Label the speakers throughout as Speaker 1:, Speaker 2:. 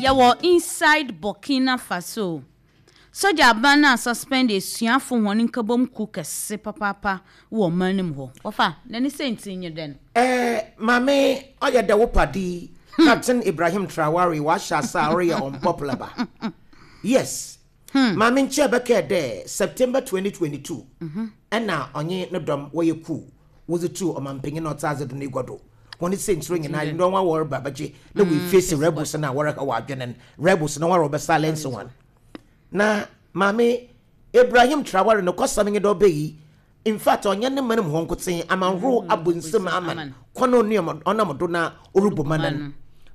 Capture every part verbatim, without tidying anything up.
Speaker 1: Yɛwɔ inside Burkina Faso. Sogya aban no a suspend esuafo hɔn nkabom ku kɛse papaapa wɔ ɔman no mu hɔ. Wɔfa n'ani sɛ nti nye dɛn?
Speaker 2: Ɛɛ maame, ɔyɛ dɛ wo padi Captain Ibrahim Traore wahyɛ ase a ɔreyɛ unpopular ba. Yes, maame, nkyɛn bɛkɛɛ dɛ September twenty twenty-two ɛna ɔnye ne dɔm wɔyɛ coup, wɔdze tu ɔmampanyin na ɔtse adze do n'egua do. Wɔn sɛntiro nyinaa ndɔn wa wɔreba bɛgye na wɔ face rebels na wɔreka wɔ adwene no, rebels na wɔreba silence wɔn. Na maame, Ibrahim Traore no kɔsɛm nye dɛ ɔbɛyi, in fact, ɔnyɛ ne man mu hɔ nkoten, amanhorow abɔ nsam aman kwan a ɔnam ɔnam do na ɔrebɔ man no.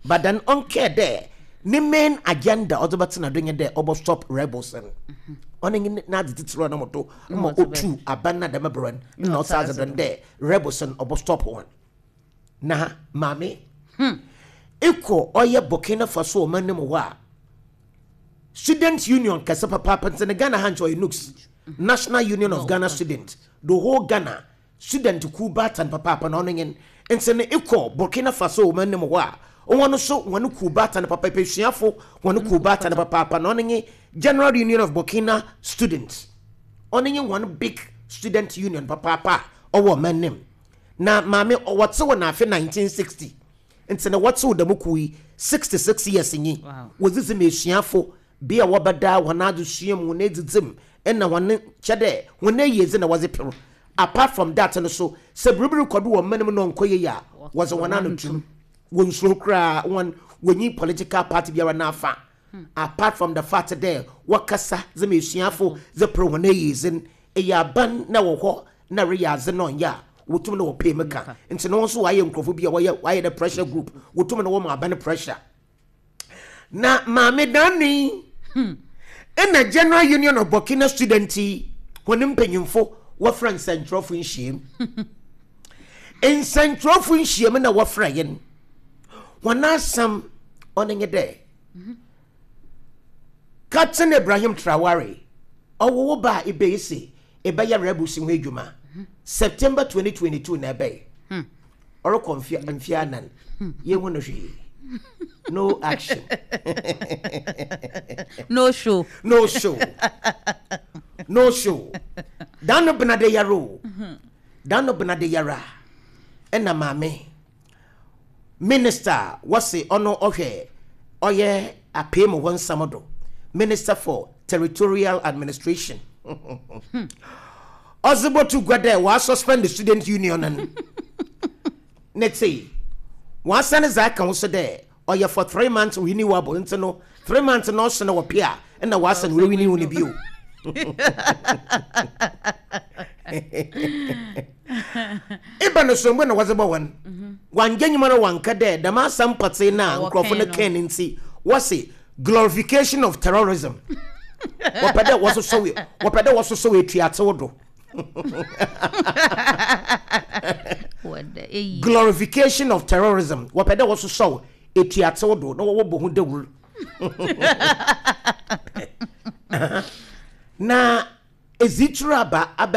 Speaker 2: But then ɔnkɛɛ dɛ ne main agenda ɔdze bɛtena do nye dɛ ɔbɔ stop rebels no. Ɔno nye n'adze titiri ɔnam do ma otu aban na dɛm berɛ no na ɔsa adze do no dɛ rebels no ɔbɔ stop wɔn. Na maame, ekɔ ɔyɛ Burkina Faso ɔman no mu hɔ a, student union kɛse papaapa nti ne Ghana ha nkyɛ ɔyɛ N U G S, National Union of Ghana Student, the whole Ghana student ku baatan papaapa na ɔno nye. Nti ne ekɔ Burkina Faso ɔman no mu hɔ a, wɔn nso wɔn ku baatan papaapa, esuafo wɔn ku baatan papaapa na ɔno nye General Union of Burkina Students. Ɔno nye wɔn big student union papaapa a ɔwɔ ɔman no mu. Na maame, wɔte wɔ n'afe nineteen sixty, nti na wɔte wɔ dɛm kuo yi sixty-six years nyi.
Speaker 1: Wow.
Speaker 2: Wɔdzidzi ma esuafo bea a wɔbɛda wɔn adesua mu, wɔn edzidzi mu, ɛna wɔn kyɛ dɛ wɔn ayiedzi na wɔdze pere. Apart from that no so, sɛ biribiri kɔdo wɔ mman mu na ɔnkɔ yie a, wɔdze wɔn ano tum. Wɔn nsuro koraa, wɔn wɔnyi political party biara n'afa. Apart from the fact dɛ wɔkasa dze ma esuafo dze pere wɔn ayiedzi no, ɛyɛ aban na wɔ hɔ na reyɛ adze na ɔnyɛ a, wotum na wɔpɛ mu ka. Nti na wɔn nso wɔayɛ nkurɔfo bi a wɔyɛ wɔayɛ dɛ pressure group, wotum na wɔn aban pressure. Na maame, dani ɛna General Union of Burkina Student yi wɔn mpanyinfo wɔfrɛ nsɛntwerɛfo nhyiam. Nsɛntwerɛfo nhyiam na wɔfrɛ yɛn, wɔn asɛm ɔno nye dɛ Captain Ibrahim Traore, ɔwɔ wo ba a ebeyi se ɛbɛyɛ rebels ho adwuma September twenty twenty-two na ɛbɛyɛ ɔrekɔ mfe mfe anan, yɛhu no hwee, no action.
Speaker 1: No show.
Speaker 2: No show, no show. Dan no bena de yare o, dan no bena de yare a, ɛna maame, minister wɔse ɔno ɔhwɛ ɔyɛ apee mu hɔ nsɛm do, Minister for Territorial Administration, ɔdze bɔto gua dɛ wɔasuspend the student union no. Ne te wɔasane dza aka ho so dɛ ɔyɛ for three months renewable. Nti no three months na ɔso na wɔpe a, ɛna wɔasane renew no bio. Iba no so mbɔ na wɔdze bɔ wɔn wangye nyuma no, wanka dɛ dɛm asɛm pɔtee na nkurɔfo no kɛn no. Nti wɔse glorification of terrorism, wɔpɛ dɛ wɔsosɔ wɔpɛ dɛ wɔsosɔ etuatew do.
Speaker 1: Wɔda eyi.
Speaker 2: Glorification of terrorism, wɔpɛ dɛ wɔsosɔ etuatew do na wɔwɔ ho dawur. Na ezituru aba.